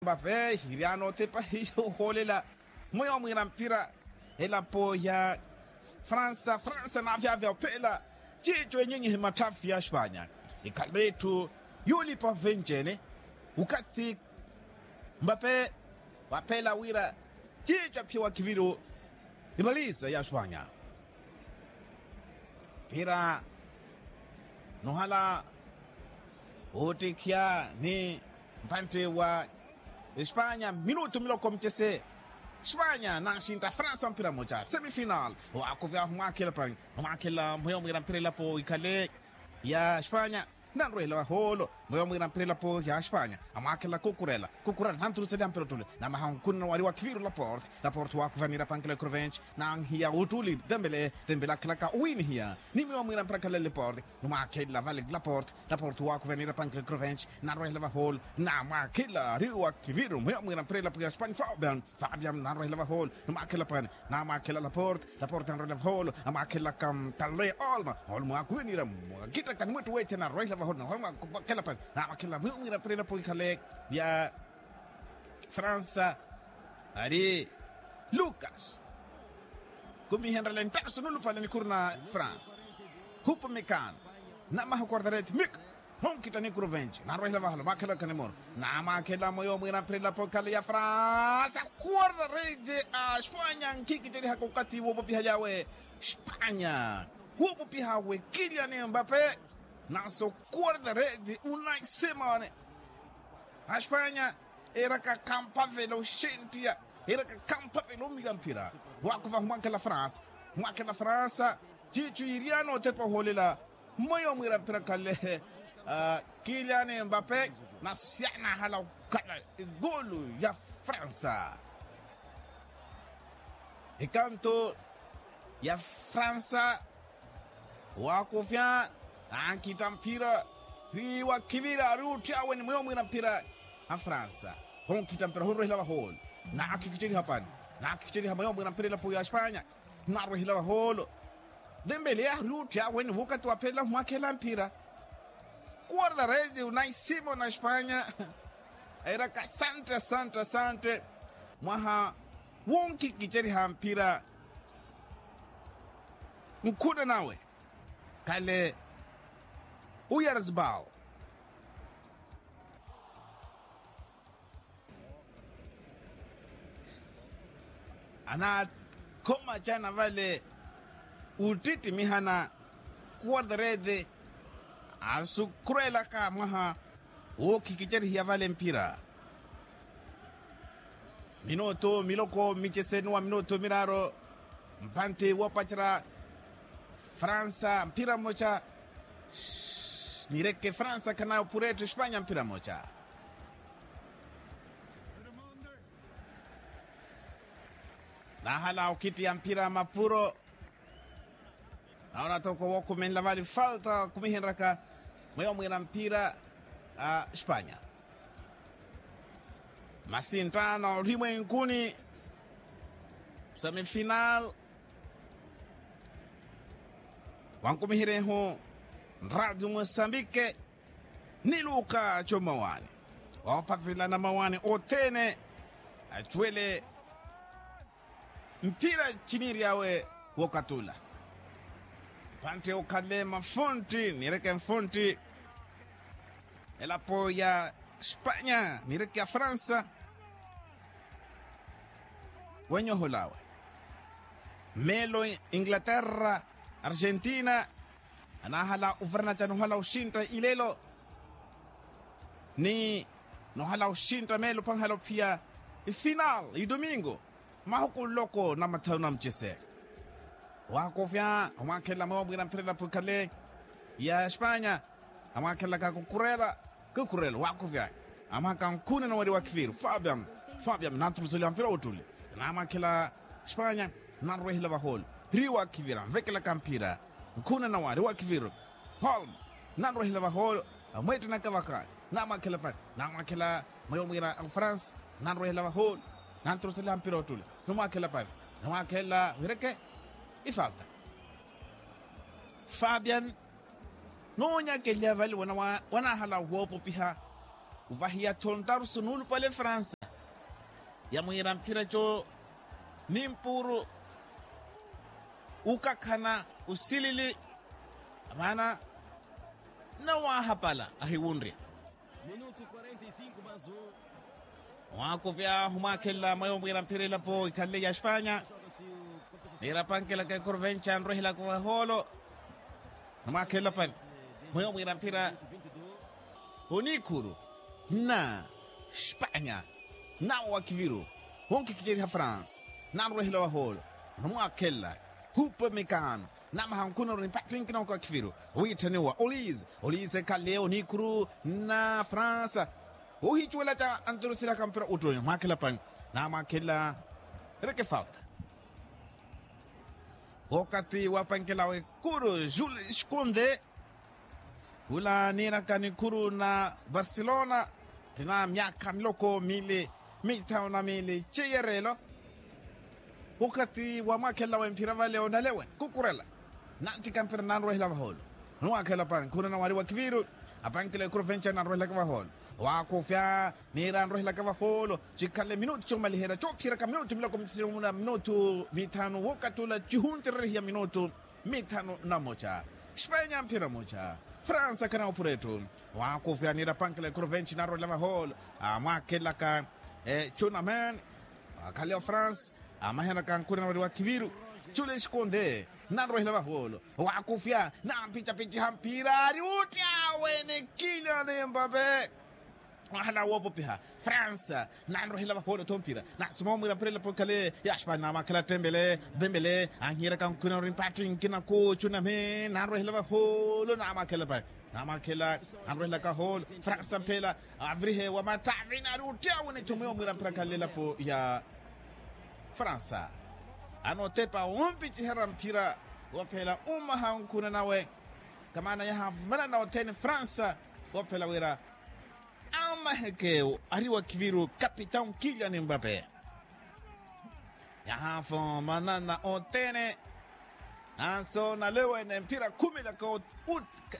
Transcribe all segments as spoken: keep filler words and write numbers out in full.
Mbape hiriana otepa hiyo ohoolela. Mweyo mwiira mpira elapo ya fransa fransa naavyavya ophela. Ciico enyinyihe matthafi ya espanya. Ikhale etthu yuulipa venci-ene. Ukathi mbape waphela wira ciico aphiwa kiviru ivaliza ya espanya. Mpira nuhala oottikhiya ni mpantte wa espanya minutu miloko micese. Espanya nanxintta fransa mpira mmoja semifinal. Owakuvyahu mwakhela pani omwakhela mweyo mwiira mpira elapo ikhale ya espanya. Nanrwehela vahoolo mweyo mwiira mpira elapo ya espanya. Amwakhela kukurela kukurela nanturuseliha mpira ottule. Namaha onkhunna wari wa kiviru laporte. Laporte wakuvanira pankela ekrovenci nanhiya ottuli tembele tembele akhelaka owinihiya. Ni mweyo mwiira mpira khalele porte. Numwakhela vale laporte. Laporte wakuvanira pankela ekrovenci nanrwehela vahoolo. Namwakhela ari wa kiviru mweyo mwiira mpira elapo ya espanya fabian. Fabian nanrwehela vahoolo. Numwakhela pani. Namwakhela laporte. Laporte anrwehela vahoolo. Amwakhelaka tale olma olma wakuvinira mwakittakani mwettu wethe nanrwehela vahoolo nakhela pani. Namwakhela mwiira mpira elapo ikhale ya fransa. Ari lukas kumihenrela enttaso nulupale nikhuru na fransa. Hupu mikano namaha quartarete mika. Honkhitta nikuru venci nanrwehela vahoolo mwakhelaka nimuru. Namwakhela mweyo mwiira mpira elapo ikhale ya fransa. Quartarete a espanya nkhikicerihaka okathi woopopiha lyawe. Espanya woopopiha we kilian mbape naso quartarete unaisimone. Aspanya eraka khampavela oxentiya. Eraka khampavela omira mpira. Wakuva humwakhela fransa. Humwakhela fransa ciicu yiriyana otepa ohoolela. Mmoyo omwira mpira khalehe kilian mbape. Nasiyana ahala okhala egolu ya fransa. Ekanto ya fransa. Waakufya naakhitta mphira. Ri wakhivira ari otthyaawe ni mweyo mwiira mphira. Afransa honkhitta mphira honrwehela vahoolo. Naakhikiceriha pani. Naakhikiceriha mweyo mwiira mphira elapo ya espanya. Narwehela vahoolo. Dembele ari otthyaawe ni wukati waphelela humwakhela mphira. Quartarete unaisimona espanya. Airaka asante asante asante. Mwaha wonkhikiceriha mphira. Nkhuna nawe khale uyarzbao. Anaakhoma cana vale. Uttitimihana quartarete asukhurelaka mwaha. Wookhikicerihiya vale mphira. Minutu miloko miceseni wa minutu miraaru. Mpantti woopacerya fransa mphira mmoca. Nireke fransa khanayo phuretthu espanya mphira mmoca. Naahala okhittiya mphira mapuro. Naona toko wookumenla vale falta kumihenraka. Mweyo mwiira mphira a espanya. Masinttano olimwenkuni semifinal. Wankumiherehu nradio mosambike. Ni luka comawani. Oophavela namawani othene acuwele mphira ciniiryawe. Wokatula mpantte okhale mafuntti nireke mfuntti. Elapo ya espanya nireke ya fransa. Wenyoholawe melo inglaterra argentina. Anaahala ovaranaca nohala oxintta ilelo ni nohala oxintta melo panhala ophiya ifinal idomingo. Mahuku nloko na mathanu na mucese. Waakofya amwaakhelela mwewo mwiira mphira elapo ikhale ya espanya. Amwaakhelelaka kukurela kukurela waakofya. Amwaaka nkhuna nawari wa khiviru fabian. Fabian nantuluseliha mphira ottuli. Namwakhela espanya nanrwehela vahoolo ri wa khiviru anvekelaka mphira. Nkhuna nawari wa khiviru. Holm nanrwehela vahoolo. Amweettenaka vakhaani namwakhela pani namwakhela mweyo mwiira a fransa. Nanrwehela vahoolo nantuluseliha mphira ottuli. Numwakhela pani namwakhela wireke ifalta. Fabian noonyakeliha vale wanahala woopopiha. Ovahiya thontarusu nuulupale fransa. yamwiira mphira eco, nimpuru, ukakhana, usilili, maana nawaahapala ahiwunrya. Mwakuvya humwakhelela mweyo mwiira mphira elapo ikhalle ya espanya. Niira pankelaka ekurvenca nrwehelaka vahoolo. Humwakhelela pani mweyo mwiira mphira. Onikhuru na espanya, nawo wakiviru, wonkikiceriha france, nanrwehela vahoolo. Numwakhelela hupa mikaano, namaha nkhuna ori mpattinkina waka wakiviru, wiitthaniwa olise olise ekhale onikhuru na fransa. Wohicuwela ca anturusilaka mpira uttuni mwakhela pani, namwakhela reke falta. Wokati wapankela wekuru jules kunde, khula niiraka nikhuru na barcelona, tina myaakha miloko miili, mithanu na miili ceiyereelo. Wokati wamwaakhelela wemphira vale onalewe kukurela, nantika mpira nanrwehela vahoolo. Numwaakhela pani khuna nawari wakiviru, apankela ekuru venca nanrwehelaka vahoolo. Waakufya niira anrwehelaka vahoolo, cikhale minutu comaliherya coophiyeraka minutu miloko micisiru muna minutu mithanu wokatula cihuntererehiya minutu mithanu na moca. Espanya mphira moca, fransa khana opura etthu. Waakufya niira pankela ekuru venci nanrwehelaka vahoolo, amwaakhelaka ecunaman, akhale ofransa, amahenaka nkhuna nawari wakiviru. Cule eskonde nanrwehela vahoolo, waakufya nampicapiciha mphira ari utti awe nikilya nimbape. Wahala woopopiha fransa, nanrwehela vahoolo tho mphira, nasuma omwiira mphira elapo ikhale ya espanya namwakhela tembele. Tembele anhiyeraka nkhuna nawari mpattinkina kucunami nanrwehela vahoolo namwakhela pani, namwakhela, anrwehelaka hoolo fransa mphela, avirihe wamattavini ari utti awe nithumiwa omwiira mphira khalle elapo ya fransa. Anotepa ompiciherya mphira, waphela umaha nkhuna nawe. Kamana yahavumanana othene fransa, waphela wira amaheke ari wakiviru kapitau nkilya nimbape. Yahavumanana othene, nanso nalewene mphira khumilaka.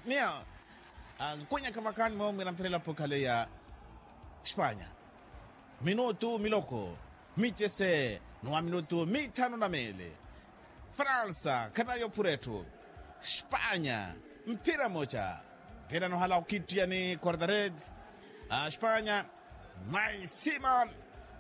Niya ankunyaka vakani mwewo mwira mphira elapo ikhale ya espanya. Minutu miloko micese, nuwa minutu mithanu na miili. Fransa khanayo phura etthu. Espanya mphira moca. Mphira nohala okittiya ni quartared. Espanya, mai simon,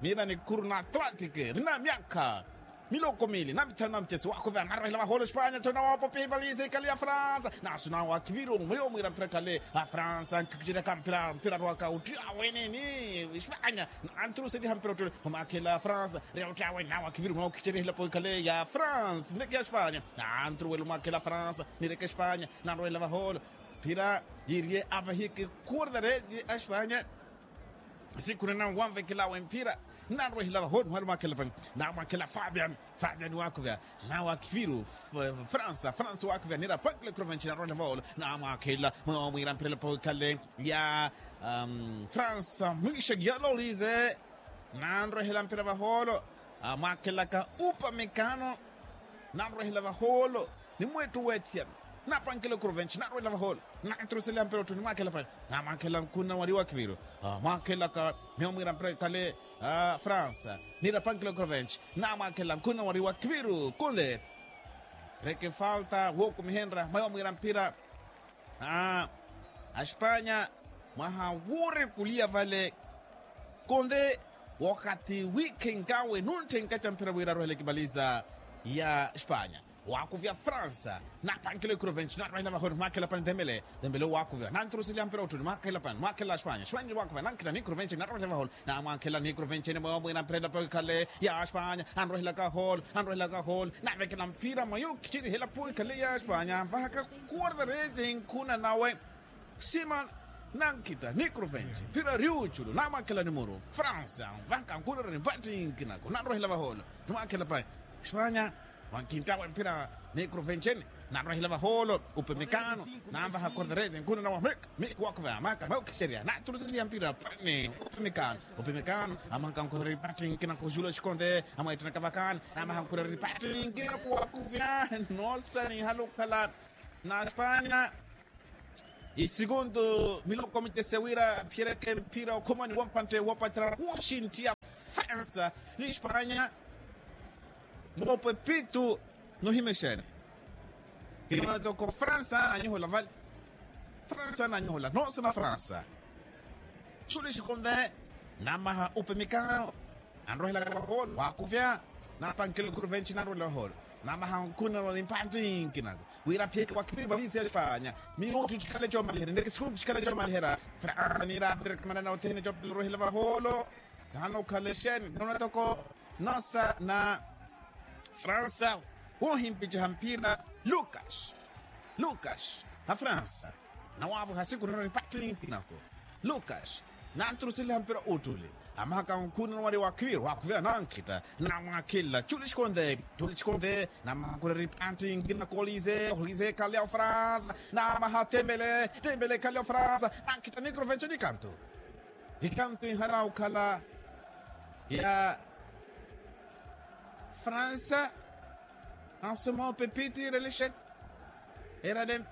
niira nikhuru na atlantic, rina myaakha miloko miili na mithanu na mucesi waakhuveya narwehela vahoolo espanya tho nawoopopiha ivaliza ikhale ya fransa. Nasu nawo akiviru mweyo mwiira mphira khale, afransa nkhikiceryaka mphira mphira arwaka utti aweneni. Espanya nanturuseliha mphira ottuli, omwakhela fransa reya otti aweneni nawo akiviru mweyo khicerya hilapo ikhale ya fransa nireke ya espanya. Nanturuwela omwakhela fransa nireke espanya, nanrwehela vahoolo. Mphira yiirye avahiki quartared a espanya. Sikhuna nawe wanvekelawe mphira, nanrwehela vahoolo mwali mwakhela pani, namwakhela fabian. Fabian waakhuveya nawe akiviru. Fransa fransa waakhuveya niira pankela ekuru venci nanrwehela vahoolo, namwakhela mwewo mwiira mphira elapo ikhale ya fransa mwixa yaloolize. Nanrwehela mphira vahoolo, amwaakhelaka upa mikaano. Nanrwehela vahoolo ni mweettu weethiyana, napankela ekuru venci nanrwehela vahoolo. Nanturuseliha mphira otthu nimwakhela pani, namwakhela nkhuna wari wakiviru. Mwaakhelaka mwewo mwiira mphira ikhale fransa niira pankela ekuru venci, namwakhela nkhuna wari wakiviru kunde. Reke falta wookumihenrya mwewo mwiira mphira. Aspanya mwaha wuurekuliya vale, konde wokati wiikhenkawe nunthenkaca mphira wira arwahela ekipaliza ya spanya. Waakuvya fransa, napankela ekuru venci narwahela vahooni mwakhela pani dembele. Dembele waakuvya nanturuseliha mphira ottuni mwakhela pani mwakhela spanya spanya waakuvya nankhela nikuru venci narwahela vahooni. Namwakhela nikuru venci ene mweyo mwiira mphira elapo ikhale ya spanya. Anrwahelaka hoolo, anrwahelaka hoolo, navekela mphira mweyo khicerihela phuwi khale ya spanya anvahaka kuwarda rezi nkhuna nawe. Simon nankhita nikuru venci mphira riuculu namwakhela nimuru fransa anvahaka nkhuna reni mpattinkinaku nanrwahela vahoolo. Nimwakhela pai spanya. Wankhinttawe mphira nikuru venci ene nanrwahela vahoolo. Upemekano nanvaha kuwarda rezi nkhuna nawe mik mik waakuvya maka mweyo khicerya natuluseliha mphira pani upemekano. Upemekano amahanka nkhureri patti nkina khuxula xikonte. Amweettenaka vakani namaha nkhureri patti nkina khuwakuvya noosanihala okhala na spanya. Isikuntu miloko mitese wira aphiyereke mphira okhomani wampantte woopacerya khuxinttiya. Fransa ni espanya. Moopo epitu nuhimexene. Kinoona toko fransa nanyohola vale. Fransa nanyohola nosa na fransa. Txuli xikonde. Namaha upe mikano. Anrohela vaholo wakuvya. Napankela kuruventi nanrohela vaholo. Namaha nkunano ni mpanti nkinako. Wira phiyeke wakiviri vavisi ya espanya. Minutu cikhale comaliherya neke sikuku cikhale comaliherya. Fransa nira avireke manana othene copela rohela vaholo. Nano khalexeni nona toko nosa na fransa. Wohimpiceha mpira. Lukas. Lukas na fransa. Nawavo hasiku nona ni patti nkinako. Lukas. Nanturuseliha mpira uttuli. Amahaka nkhuna nwari wakhiviri wakhuvira nankhita. Namwakhilla txuli xikonde. Txuli xikonde. Namakhureri patti nkinako olize olize khalya ofransa. Namaha tembele. Tembele khalya ofransa. Nankhita nikrovenco nikantu. Ikantu ihala okhala ya fransa. Ansoma opepiti relexeni. Erale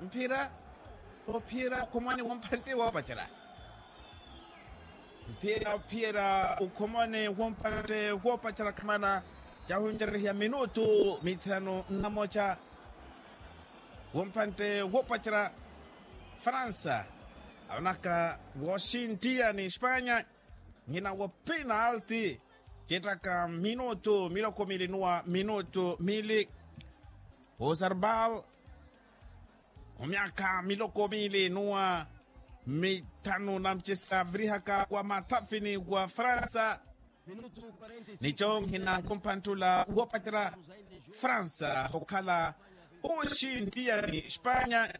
mphira. Ophiyera okhomani womphante woopacera. Mphira ophiyera okhomani womphante woopacera khamana. Cahuncererehiya minutu mithanu nnamoca. Womphante woopacera. Fransa. Avanaka wooxintiya ni espanya. Nhina wo penalti. Cittaka minutu miloko mili nuwa minutu mili. Ozarbal. Omyaka miloko mili nuwa mitthanu na mcisa virihaka wa matthafini wa fransa. Nico nhina nkumpanttula woopacera fransa okhala oxintiya ni espanya.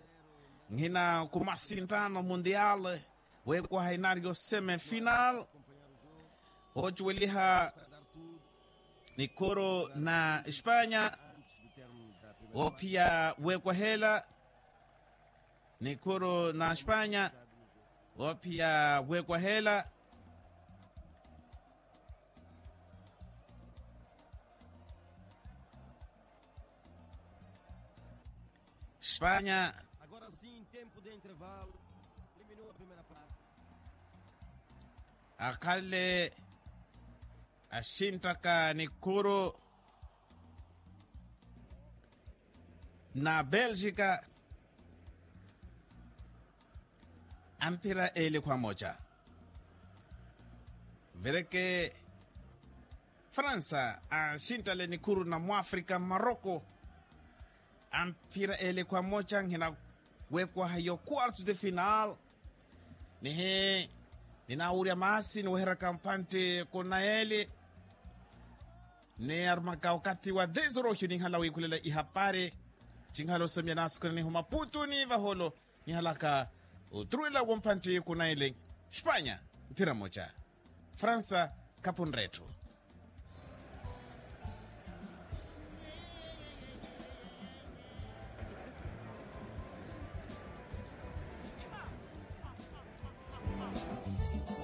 Nhina nkumasinttano mundial. Weekwaha inario semifinal. Ocuweliha nikhuru na espanya. Woophiya weekwahela nikhuru na espanya. Woophiya weekwahela. Espanya. Akhale axinttaka nikhuru na belgika. Amphira eele khwamoca. Vireke fransa axinttale nikhuru na mwafrika maroko. Amphira eele khwamoca nhina weekwaha yo quartos de final. Nihi ninawurya maasi niweheraka mpantte kuna eele. Ni arumaka okathi wa dez oroxo ninhala wiikhulela ihapari. Cinhala osomya nasikuna nihu maputuni vaholo. Nihalaka oturuwela wompantti kuna ele. Espanya mphira moca. Fransa khapunre etthu.